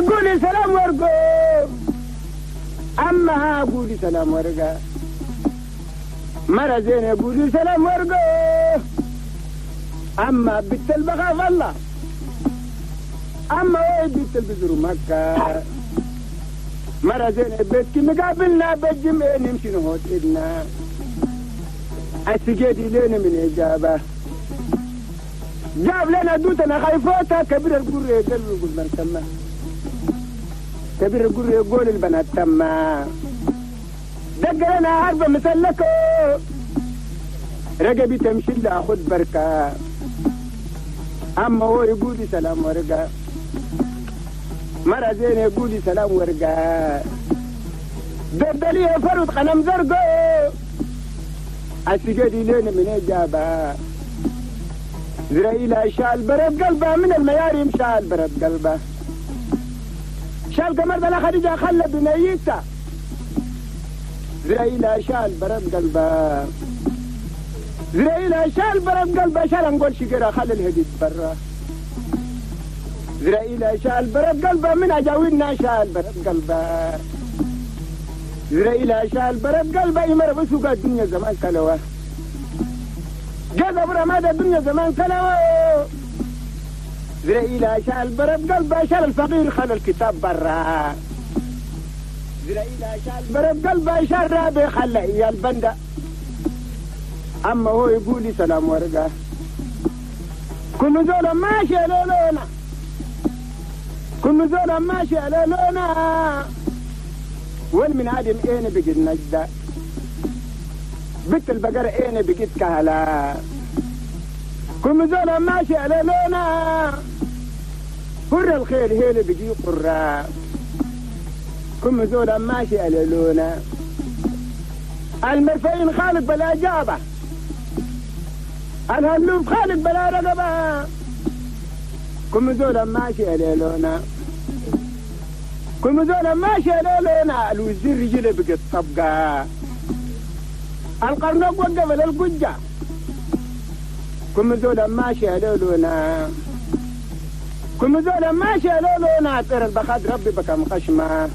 قولي سلام ورقو أما قولي سلام ورقا مرة زينة قولي سلام ورقو أما بنت البخاف الله أما وين بنت البزر مكة مرة زينة بيتك مقابلنا بالجمع نمشي نهوت إدنا السجادي لنا من إجابة جاب لنا دوتنا خايفوتها كبير القر يقول من تما كبير القر يقول البنات تما دق لنا عربة مسلكة رقبي تمشي لأخذ بركة أما هو يقول سلام ورقة مرة زين يقول سلام ورقة دردلية فرد قلم زرقو السجادي لنا من إجابة زرائيل شال برد قلبه من المياريم شال برد قلبه شال قمر بلا خديجة خلى بنيته زرائيل شال برد قلبه زرائيل شال برد قلبه شال نقول شجرة خلى الهديد برا زرائيل شال برد قلبه من أجاوينا شال برد قلبه زرائيل شال برد قلبه يمر بسوق الدنيا زمان كلوه جذب رماد الدنيا زمان كلوه زرائيل شال برد قلبه شال الفقير خلى الكتاب برا زرائيل شال برد قلبه شال رابي خلى إيا البندة أما هو يقول لي سلام ورقة كل زول ماشي على لونا كل زول ماشي على لونا والمن عدم اين بقيت نجدة بنت البقر اين بقيت كهلا كل زول ماشي على لونا هر الخير هيل بقي قرا كل زول ماشي على لونا المرفين خالق بلا جابه الهلوب خالق بلا رقبه كل زول ماشي على لونا كل زول ماشي على لونا الوزير رجله بقت طبقه القرنق وقف للقجه كل زول ماشي على لونا كل زول ماشي على لونا طير البخاد ربي بكم خشمه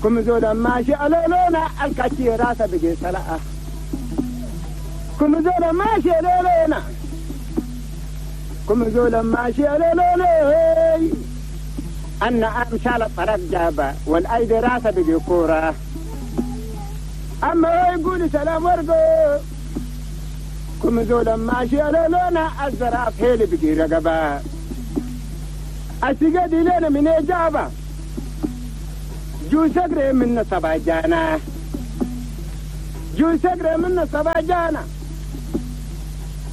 كل زول ماشي على لونا الكاتي راسه بقي سلقه كل زول ماشي على لونا كل زول ماشي على لونا أن أمشال الطرف جابة والأيدي راسه بقي كورة أما هو يقول سلام ورقو كل زول ماشي على لونا الزراف هيلي بقي رقبة السجادي لنا من إجابة جو سقري من سبع جانا جو سقري من سبع جانا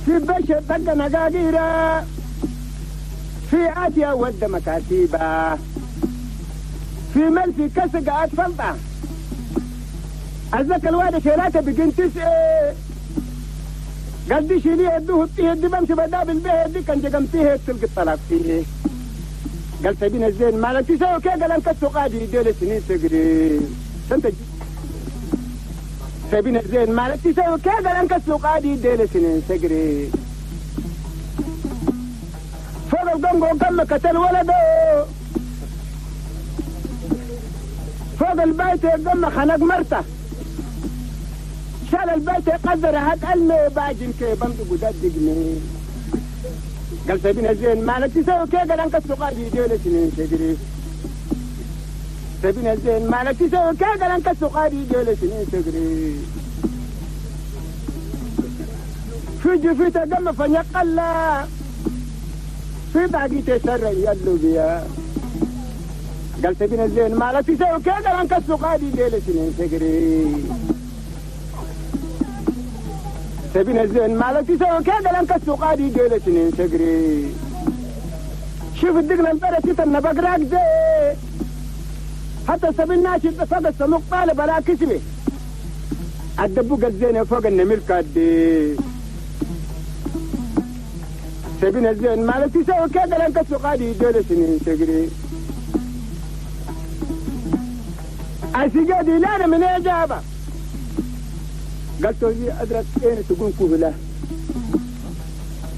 في بشر طق نقاقيرة في آتيا ود مكاتيبة في ملفي كسق أطفلطة الزكا الواد شيلاته بقين تسعة قال دي شيليه يدوه فيه دي بمشي بدابل به دي كان جقمتيه تلقي الطلاق فيه قال سبينا الزين مالك تسوي كي قال انك قادي ديل سنين تقري سنت سبينا الزين مالك تسوي كي قال انك قادي ديل سنين تقري فوق القنقو قم قتل ولده فوق البيت قم خنق مرته شال البيت قدر هات المي باجن كي بمضي قداد دقني قال سبينا زين مالك تسوي كي قال انك قادي ديل سنين تجري سبينا زين مالك تسوي كي قال انك قادي ديل سنين تجري في جفيته قم فنقلا في باقي تسرع يلو بيا قال سبينا زين مالك تسوي كي قال انك قادي ديل سنين تجري سبينا الزين مالك تسوي كي قال انك قادي ديل سنين تجري شوف الدقن البرة تتنبق راكزة حتى سبيل ناشد فوق السموق طالب بلا كسبه الدبوق الزين فوق النمل كادي سبينا الزين مالك تسوي كي قال انك قادي ديل سنين تجري السجادي لا من إجابة قال توري أزرق أين تكون كهلة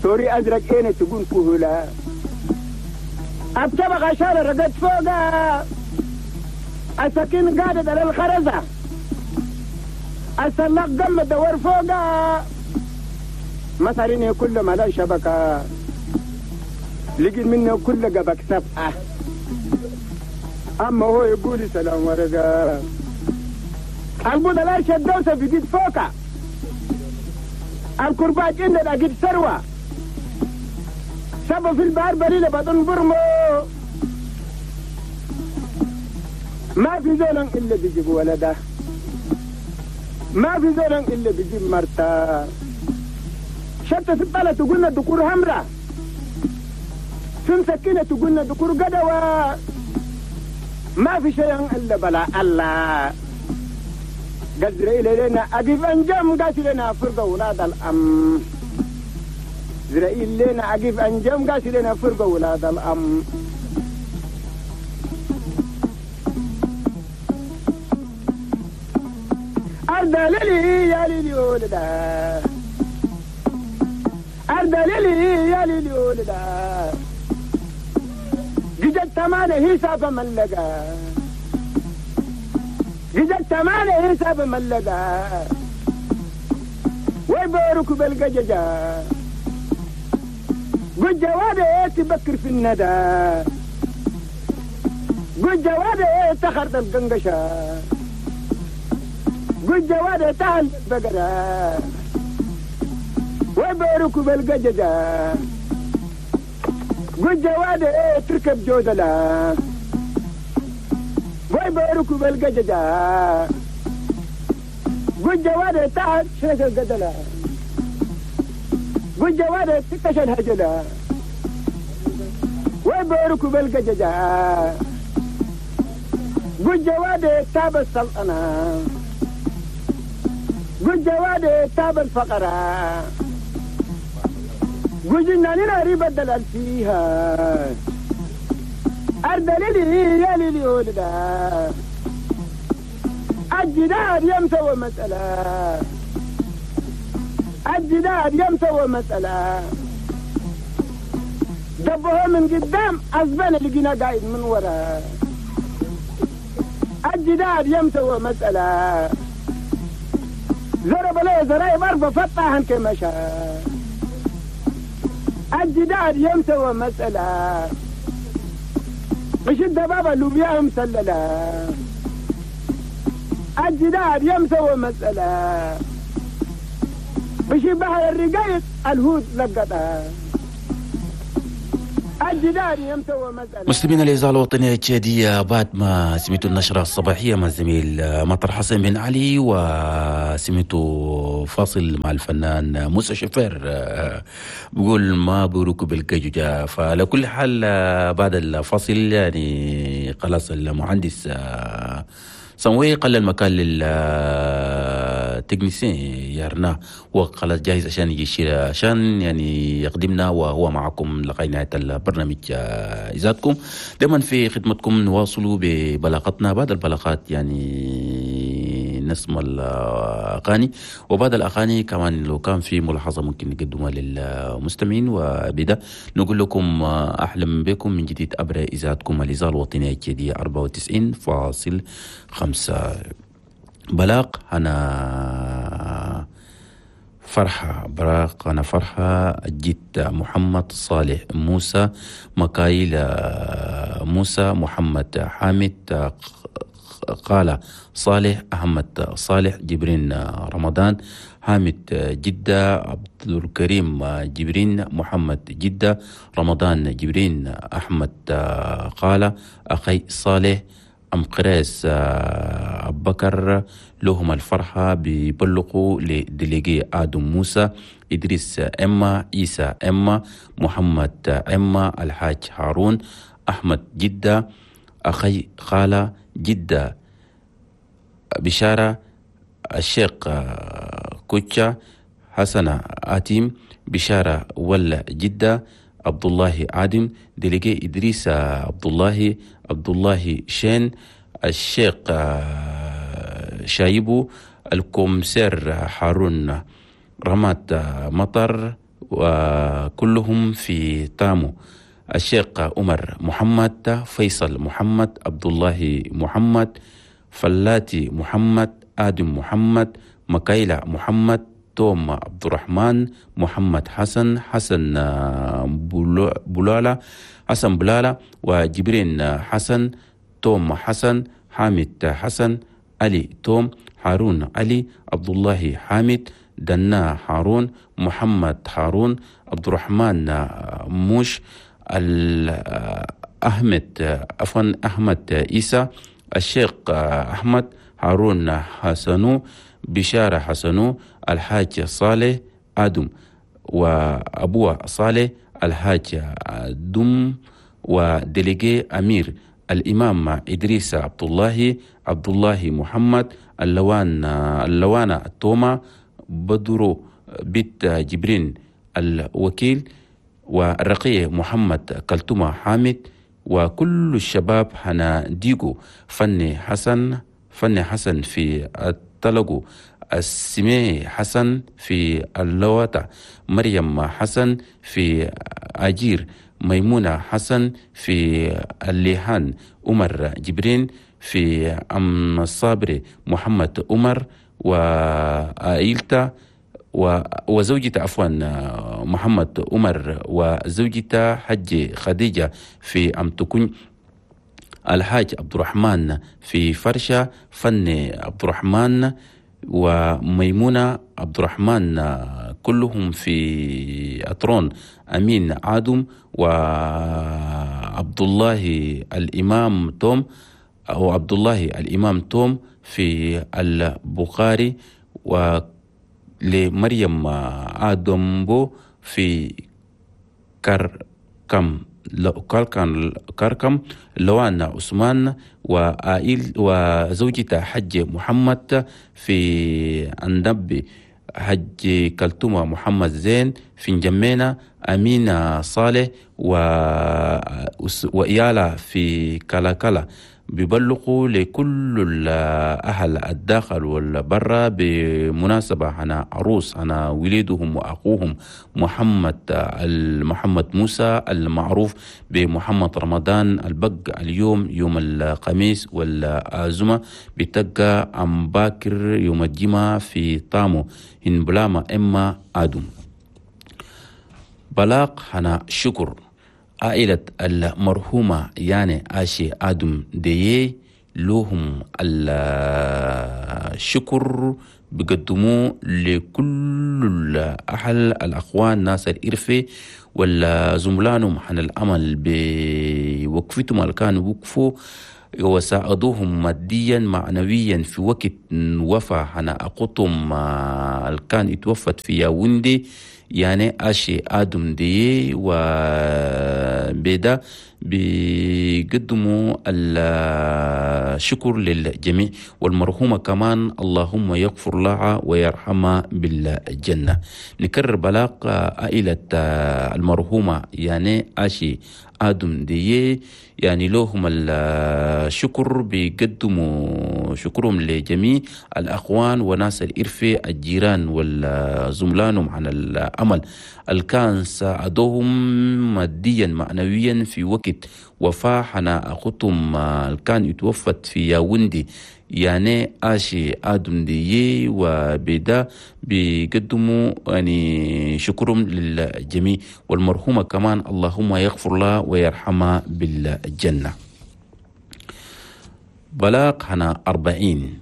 توري أزرق أين تكون كهلة الطبقة شال رقد فوقها السكين قادت على الخرزة السلاق قم دور فوقها مثلين كل ما لا شبكة لقيت منه كل قبك 7. أما هو يقول سلام ورقة البوضة لا شدوسة في جيد فوقها الكرباج إن أجد ثروة سبب في البحر بريلة بدون برمو ما في زول إلا بيجيب ولده ما في زول إلا بيجيب مرته شتى في البلد تقولنا دكور همرة في مسكينة تقولنا دكور قدوة ما في شيء إلا بلا الله قدر إلينا أقف أنجم قاتلنا فرقة ولاد الأم إسرائيل لنا أقف أنجم قاتلنا فرقة ولاد الأم أرض ليلي يا ليلي ولدا أرض ليلي يا ليلي ولدا جدت تمانة حساب ملقا جدت تمانة حساب ملقا ويبارك بالقججة قد جوابي تبكر في الندى قد جوابي تخرط القنقشة قد جوابي تهل البقرة ويبارك بالقججة قد جوابي تركب جودلة ويبارك بالقججة قد جوابي تهل شرك القدلة قد جوابي تكش الهجلة ويبارك بالقججة قد جوابي تاب السلطنة قد جوابي تاب الفقرة قد جناننا ريب الدلال فيها أرض ليلي يا ليلي ولدا الجدار يمسوى مسألة الجدار يمسوى مسألة دبوها من قدام أزبان لقينا قاعد من ورا الجدار يمسوى مسألة ضرب له زرايب أربع فتحن كما شاء الجدار يمسوى مسألة مش الدبابة لوبيا مسللة الجدار يمسوى مسألة مش بحر الرقايق الهود لقطها الجدار يمسوى مسألة. مستمعينا الإذاعة الوطنية التشادية، بعد ما سمعتوا النشرة الصباحية مع الزميل مطر حسن بن علي، وسمعتوا فاصل مع الفنان موسى شفير بيقول ما بركب الكجوجة. فعلى كل حال بعد الفاصل يعني خلاص المهندس سموي قلل المكان لل technicien يارنا، وخلاص جاهز عشان يجي يشيل عشان يعني يقدمنا، وهو معكم لغاية نهاية البرنامج. إذاعتكم دائما في خدمتكم، نواصلوا ببلاغتنا. بعد البلاغات يعني نسمع الأغاني، وبعد الأغاني كمان لو كان في ملاحظة ممكن نقدمها للمستمعين. وبدا نقول لكم أحلم بكم من جديد عبر إذاعتكم الإذاعة الوطنية الجديدة 94.5. بلاغ أنا فرحة، براق أنا فرحة جد محمد صالح موسى مكايل موسى محمد حامد قال صالح أحمد صالح جبرين رمضان حامد جدة عبد الكريم جبرين محمد جدة رمضان جبرين أحمد قال أخي صالح أم قراس أبو بكر لهم الفرحة بيبلغوا لديليجي آدم موسى إدريس إما عيسى إما محمد إما الحاج هارون أحمد جدة أخي خالة جدة بشارة الشيخ كوتشا حسنة آتيم بشارة ولا جدة عبد الله عادم ديليجي إدريس عبد الله عبد الله شين الشيخ شايبو الكومسير هارون رمات مطر وكلهم في تامو. الشيخ عمر محمد، فيصل محمد، عبد الله محمد، فلاتي محمد، آدم محمد، مكايلة محمد، توم عبد الرحمن، محمد حسن، حسن بلالة، حسن بلالة، وجبرين حسن، توم حسن، حامد حسن، علي توم، هارون علي، عبد الله حامد، دنا هارون، محمد هارون، عبد الرحمن موش، أحمد عفوا أحمد عيسى، الشيخ أحمد، هارون حسنو، بشارة حسنو، الحاج صالح آدم، وأبوه صالح الحاج دم، وديليجي أمير، الإمام إدريس عبد الله، عبد الله محمد، اللوانة التومة، بدرو بيت جبرين الوكيل، والرقي محمد كلتومة حامد، وكل الشباب هنا ديجو، فني حسن، فني حسن في التلقو، السمي حسن في اللواتة، مريم حسن في أجير، ميمونة حسن في الليهان، عمر جبرين في أم الصابري، محمد عمر وعائلته وزوجته عفوا محمد عمر وزوجته حج خديجة في أم تكون، الحاج عبد الرحمن في فرشة، فني عبد الرحمن وميمونة عبد الرحمن كلهم في أطرون، أمين عادم وعبد الله الإمام توم أو عبد الله الإمام توم في البخاري، ولمريم آدم بو في كركم كركم، لوان عثمان وآيل وزوجته حج محمد في النبي، حج كلتومة محمد زين في نجمينة، أمينة صالح وإيالة في كلاكلا. بيبلغوا لكل الأهل الداخل والبرة بمناسبة أنا عروس أنا وليدهم وأخوهم محمد موسى المعروف بمحمد رمضان البق، اليوم يوم الخميس والعزمة بتقى أم باكر يوم الجمعة في طامو هنبلاما إما آدم. بلاغ هنا شكر عائلة المرحومة يعني آشي آدم ديي لهم الشكر بيقدموه لكل الأهل الأخوان ناس الإرفي والزملانهم عن الأمل بوقفتهم اللي كانوا وقفوا وساعدوهم ماديا معنويا في وقت وفاة أنا أقطم اللي كان اتوفت في ياوندي يعني أشي آدم دي وبيدا بيقدموا الشكر للجميع، والمرحومة كمان اللهم يغفر لها ويرحمها بالجنة. نكرر بلاغ عائلة المرحومة يعني أشي آدم دي يعني لهم الشكر، بيقدموا شكرهم لجميع الأخوان وناس الإرفة الجيران والزملانهم عن الأمل الكان ساعدوهم ماديا معنويا في وقت وفاة حنا أخوتهم الكان اتوفت في ياوندي يعني آشي آدم دي وبدا بيقدموا يعني شكرهم للجميع، والمرحومة كمان اللهم يغفر لها ويرحمها بالجنة. بلاغ هنا 40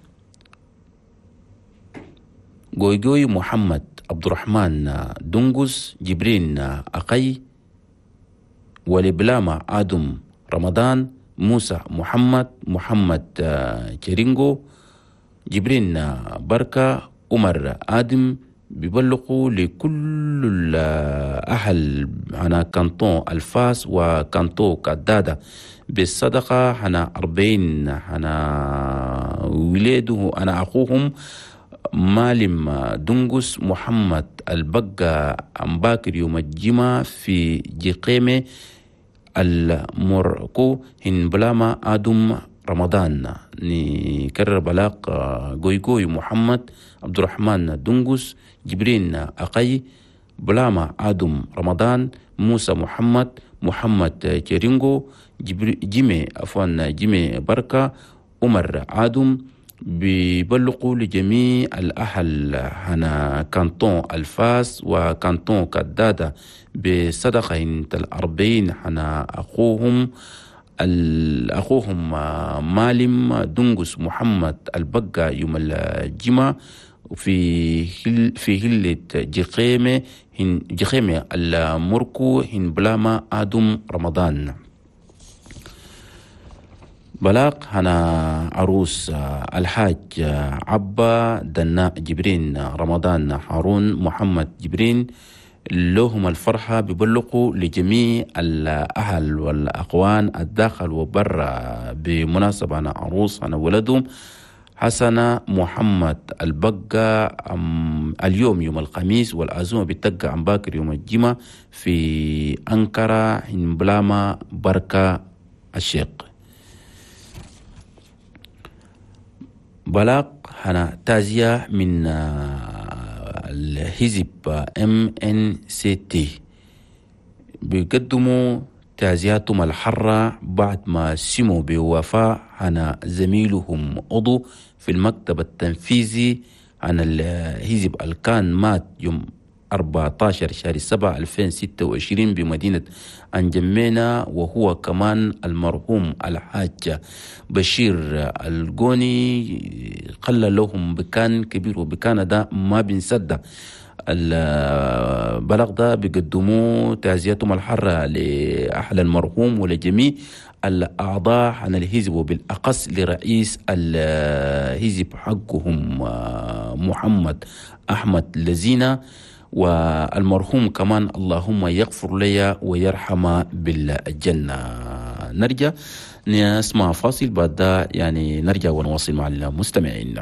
جويجوي محمد عبد الرحمن دنجس جبرين أقي ولبلاما آدم رمضان موسى محمد محمد جرينجو جبرين بركة عمر آدم بيبلغوا لكل الأهل على كانتون الفاس وكانتو كدادة بالصدقة هنا 40 هنا ولاده أنا أخوهم مالم دنجس محمد البقى أمباكر يوم الجمعة في جقيمة المركو هنبلاما آدم رمضان. نكرر بلاق جويجوي محمد عبد الرحمن دنجس جبرين أقي بلاما آدم رمضان موسى محمد محمد جرينغو، جيمي عفوا جيمي بركة، عمر عادم. بيبلغوا لجميع الأهل هنا كانتون الفاس وكانتون كدادة بصدقة 40 هنا أخوهم مالم دنقس محمد البقى يوم الجمعة في هلة جخيمة المركو هن بلاما آدم رمضان. بلاغ هنا عروس الحاج عبا دناء جبرين رمضان هارون محمد جبرين، لهم الفرحة ببلغوا لجميع الأهل والأقوان الداخل وبرا بمناسبة أنا عروس أنا ولدهم حسن محمد البقى اليوم يوم الخميس، والعزومة بتقع عن باكر يوم الجمعة في أنقرة بلاما بركة الشيخ. بلاغ هنا تازية من الحزب MNCT بيقدموا تعزياتهم الحرة بعد ما سموا بوفاة هنا زميلهم عضو في المكتب التنفيذي عن الحزب الكان مات يوم 14 شهر 7 2026 بمدينة أنجمينا، وهو كمان المرحوم الحاج بشير الجوني. قل لهم بكان كبير وبكان ده ما بنسد. البلغ ده بيقدموا تعزيتهم الحرة لأهل المرحوم ولجميع الأعضاء عن الحزب، وبالأقص لرئيس الحزب حقهم محمد أحمد لزينة، والمرحوم كمان اللهم يغفر لي ويرحم بالجنة. نرجع نسمع فاصل بعد يعني نرجع ونواصل مع المستمعين.